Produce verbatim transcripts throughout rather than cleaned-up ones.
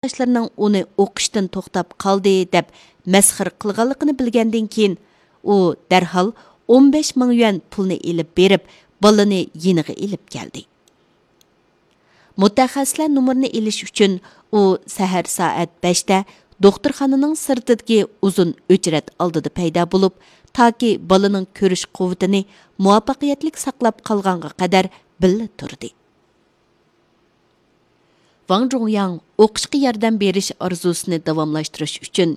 ساۋاقداشلىرىنىڭ ئۇنى ئوقۇشتىن توختاپ قالدى دەپ مەسخىرە قىلغانلىقىنى بىلگەندىن كېيىن، ئۇ دەرھال ئون بەش مىڭ يۈەن پۇلنى ئېلىپ بېرىپ، بالىنى يېنىغا ئېلىپ كەلدى. مۇتەخەسسىسلەر نومۇرىنى ئېلىش ئۈچۈن ئۇ سەھەر سائەت بەشتە دوختۇرخانىنىڭ سىرتىدىكى ئۇزۇن ئۆچرەت ئالدىدا پەيدا بولۇپ، تاكى بالىنىڭ كۆرۈش قۇۋۋىتىنى مۇۋەپپەقىيەتلىك ساقلاپ قالغانغا قەدەر بىللە تۇردى. ۋاڭ جۇڭياڭ ئوقۇشقا ياردەم بېرىش ئارزۇسىنى داۋاملاشتۇرۇش ئۈچۈن،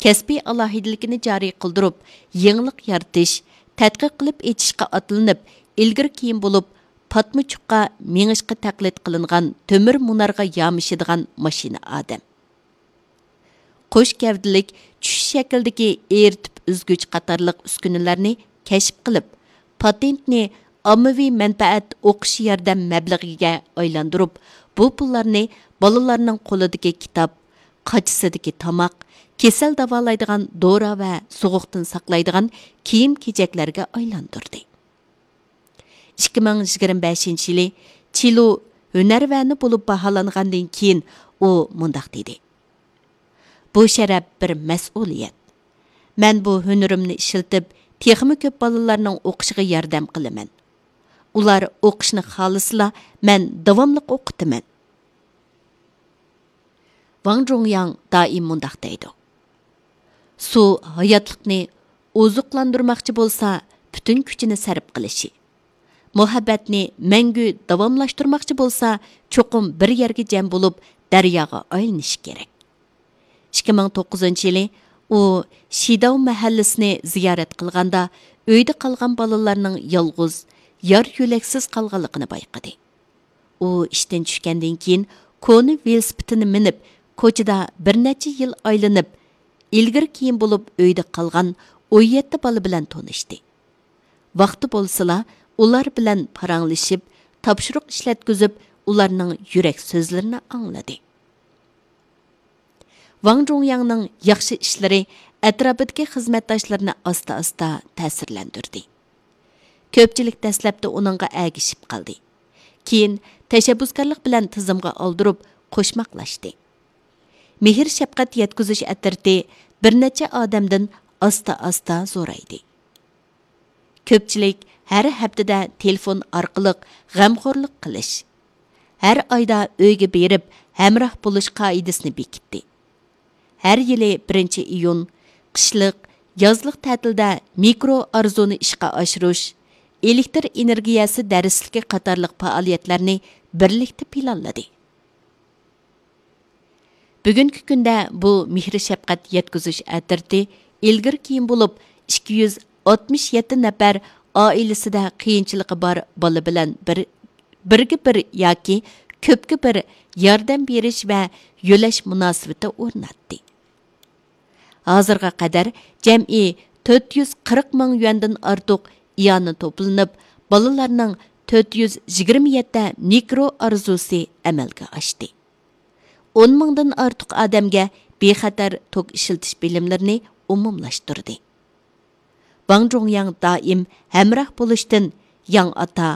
كەسپىي ئالاھىدىلىكىنى جارى قىلدۇرۇپ، يېڭىلىق يارىتىش، تەتقىق قىلىپ ئېچىشقا ئاتلىنىپ، ئىلگىرى كېيىن بولۇپ، پاتما چۇققا مېڭىشقا تەقلىد قىلىنغان تۆمۈر مۇنارغا يامىشىدىغان ماشىنا ئادەم. قوش گەۋدىلىك، چۈش شەكلىدىكى ئېرىتىپ ئۈزگۈچ قاتارلىق ئۈسكۈنىلەرنى كەشىپ قىلىپ، پاتېنتنى ئاممىۋى مەنپەئەت ئوقۇش ياردەم مەبلىغىگە ئايلاندۇرۇپ، بۇ پۇللارنى بالىلارنىڭ قولىدىكى كىتاب، قاچىسىدىكى تاماق، كېسەل داۋالايدىغان دورا ۋە سوغۇقتىن ساقلايدىغان كىيىم-كېچەكلەرگە ئايلاندۇردى. ئىككى مىڭ يىگىرمە بەشىنچى يىلى چىلۇ ھۈنەرۋەنى بولۇپ باھالانغاندىن كېيىن، ئۇ مۇنداق دېدى: «بۇ شەرەپ بىر مەسئۇلىيەت. مەن بۇ ھۈنىرىمنى ئىشلىتىپ، تېخىمۇ كۆپ بالىلارنىڭ ئوقۇشىغا ياردەم قىلىمەن. ئۇلار ئوقۇشنى خالىسىلا، مەن داۋاملىق ئوقۇتىمەن.» ۋاڭ جۇڭياڭ دائىم مۇنداق دەيدۇ: «سۇ ھاياتلىقنى ئوزۇقلاندۇرماقچى بولسا، پۈتۈن كۈچىنى سەرپ قىلىشى، مۇھەببەتنى مەڭگۈ داۋاملاشتۇرماقچى بولسا، چوقۇم بىر يەرگە جەم بولۇپ، دەرياغا ئايلىنىشى كېرەك.» ئىككى مىڭ توققۇزىنچى يىلى ئۇ شىداۋ مەھەللىسىنى زىيارەت قىلغاندا، ئۆيدە قالغان بالىلارنىڭ يالغۇز، يار-يۆلەكسىز قالغانلىقىنى بايقىدى. ئۇ ئىشتىن چۈشكەندىن كېيىن، كونا ۋېلىسىپىتىنى مىنىپ، كوچىدا بىر نەچچە يىل ئايلىنىپ، ئىلگىرى كېيىن بولۇپ ئۆيدە قالغان ئون يەتتە بالا بىلەن تونۇشتى. ۋاقتى بولسىلا، ئۇلار بىلەن پاراڭلىشىپ، تاپشۇرۇق ئىشلەتكۈزۈپ، ئۇلارنىڭ يۈرەك سۆزلىرىنى ئاڭلىدى. ۋاڭ جۇڭياڭنىڭ ياخشى ئىشلىرى ئەتراپىدىكى خىزمەتداشلىرىنى ئاستا-ئاستا تەسىرلەندۈردى. كۆپچىلىك دەسلەپتە ئۇنىڭغا ئەگىشىپ قالدى. كېيىن تەشەببۇسكارلىق بىلەن تىزىمغا ئالدۇرۇپ، قوشماقلاشتى. مېھىر-شەپقەت يەتكۈزۈش ئەترىتى بىر نەچچە ئادەمدىن ئاستا-ئاستا زورايدى. كۆپچىلىك ھەر ھەپتىدە تېلېفون ئارقىلىق غەمخورلۇق قىلىش، ھەر ئايدا ئۆيگە بېرىپ ھەمراھ بولۇش قائىدىسىنى بېكىتتى. ھەر يىلى بىرىنچى ئىيۇن، قىشلىق، يازلىق تەتىلدە مىكرو ئارزۇنى ئىشقا ئاشۇرۇش، ئېلېكتىر ئېنېرگىيەسى دەرسلىكى قاتارلىق پائالىيەتلەرنى بىرلىكتە پىلانلىدى. بۈگۈنكى كۈندە بۇ مېھىر-شەپقەت يەتكۈزۈش ئەترىتى ئىلگىرى كېيىن بولۇپ، ئىككى يۈز ئاتمىش يەتتە نەپەر ئائىلىسىدە قىيىنچىلىقى بار بالا بىلەن بىر، بىرگە بىر ياكى كۆپكە بىر ياردەم بېرىش ۋە يۆلەش مۇناسىۋىتى ئورناتتى. ھازىرغا قەدەر جەمئىي تۆت يۈز قىرىق مىڭ يۈەندىن ئارتۇق ئىئانە توپلىنىپ، بالىلارنىڭ تۆت يۈز يىگىرمە يەتتە مىكرو ئارزۇسى ئەمەلگە ئاشتى. ئون مىڭدىن ئارتۇق ئادەمگە بىخەتەر توك ئىشلىتىش بىلىملىرىنى ئومۇملاشتۇردى. ۋاڭ جۇڭياڭ دائىم ھەمراھ بولۇشتىن ياڭ ئاتا،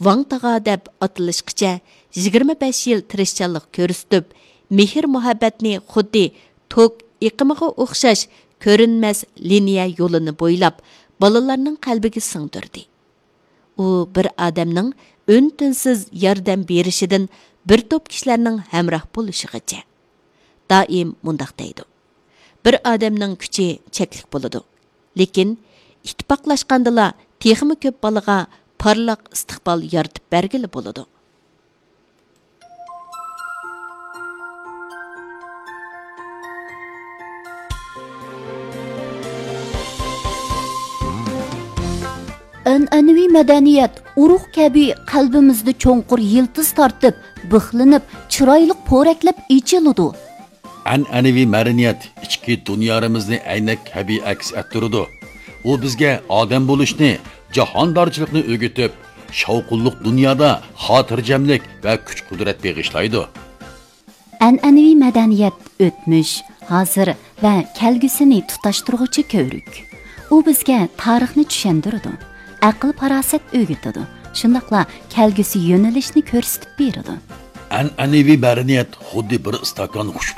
ۋاڭ تاغا دەپ ئاتىلىشقىچە يىگىرمە بەش يىل تىرىشچانلىق كۆرسىتىپ، مېھىر-مۇھەببەتنى خۇددى توك ئېقىمىغا ئوخشاش كۆرۈنمەس لىنىيە يولىنى بويلاپ، بالىلارنىڭ قەلبىگە سىڭدۈردى. ئۇ بىر ئادەمنىڭ ئۈن-تىنسىز ياردەم بېرىشىدىن بىر توپ كىشىلەرنىڭ ھەمراھ بولۇشىغىچە. دائىم مۇنداق دەيدۇ: «بىر ئادەمنىڭ كۈچى چەكلىك بولىدۇ، لېكىن ئىتتىپاقلاشقاندىلا تېخىمۇ كۆپ بالىغا پارلاق ئىستىقبال يارىتىپ بەرگىلى بولىدۇ.» ئەنئەنىۋى مەدەنىيەت ئۇرۇق كەبى قەلبىمىزدە چوڭقۇر يىلتىز تارتىپ، بىخلىنىپ، چىرايلىق پورەكلەپ ئېچىلىدۇ. ئەنئەنىۋى مەدەنىيەت ئىچكى دۇنيارىمىزنى ئەينەك كەبى ئەكس ئەتتۈرىدۇ. ئۇ بىزگە ئادەم بولۇشنى، جاھاندارچىلىقنى ئۆگىتىپ، شاۋقۇنلۇق دۇنيادا خاتىرجەملىك ۋە كۈچ-قۇدرەت بېغىشلايدۇ. ئەنئەنىۋى مەدەنىيەت ئۆتمۈش، ھازىر ۋە كەلگۈسىنى تۇتاشتۇرغۇچى كۆۋرۈك. ئۇ بىزگە تارىخنى چۈشەندۈرىدۇ، ئەقىل-پاراسەت ئۆگىتىدۇ، شۇنداقلا كەلگۈسى يۆنىلىشنى كۆرسىتىپ بېرىدۇ. ئەنئەنىۋى مەدەنىيەت خۇددى بىر ئىستاكان خۇشۇپ